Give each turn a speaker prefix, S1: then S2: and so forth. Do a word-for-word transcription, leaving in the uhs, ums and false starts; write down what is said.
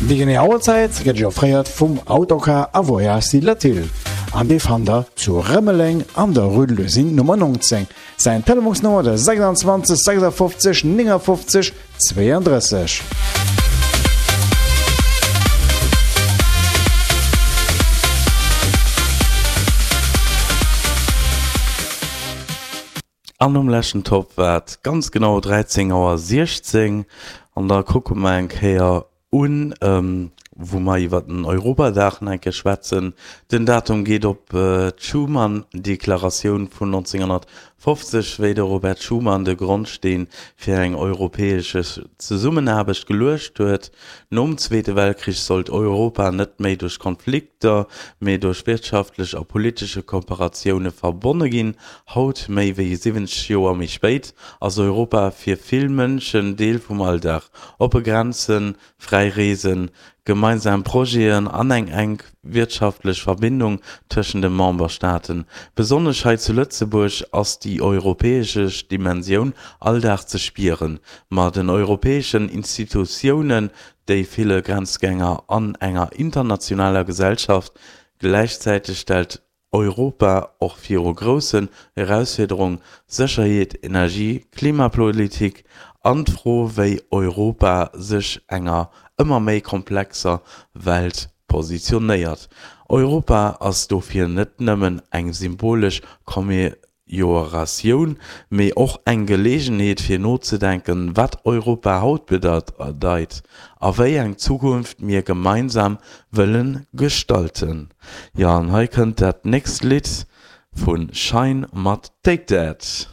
S1: Déi genee Auerzäit gëtt Iech offréiert vum Autocar a Voyages Latil an dee fannt der zu Rëmeleng an der Rue de l'Usine Nummer neunzéng. Säin Telefonsnummer de sechsundzwanzeg sechsundfünfzig neunundfünfzig zweiunddrësseg.
S2: An um leschten Topp war et ganz genau dräizéng Auer siechzéng an da kucke mer eng Kéier un, wou mer iwwer den Europadag nach eng Kéier schwätzen. Den Datum geet op d'Schuman-Deklaratioun vun neunzehnhundertfünfzeg, wéi de Robert Schuman de Grondsteen fir eng europäesch Zesummenaarbecht geluecht huet. Nom Zweete Weltkrich sollt Europa net méi duerch Konflikter, mee duerch wirtschaftlech a politesche Kooperatioune verbonne ginn. Haut, méi wéi siwwenzeg Joer méi spéit, ass Europa fir vill Mënschen Deel vum Alldag. Oppe Grenzen, fräi Reesen, gemeinsam Projeten an eng enk wirtschaftlech Verbindung tëschent de Memberstaaten. Besonnesch hei zu Lëtzebuerg ass déi europäesch Dimensioun all Dag ze spieren. Ma den europäeschen Institutiounen, déi ville Grenzgänger an enger internationaler Gesellschaft. Gläichzäiteg stellt Europa och viru groussen Erausfuerderungen, Sécherheet, Energie, Klimapolitik an d'Fro, wéi Europa sech enger ëmmer méi komplexer Welt positionéiert. Europa ass dofir net nëmmen eng symbolesch Commemoratioun, mee och eng Geleegenheet fir nozedenken, wat Europa haut bedeit a wéi eng Zukunft mir gemeinsam wëlle gestalten. Jo, an hei kënnt dat nächst Lidd vu Shine mat Take That.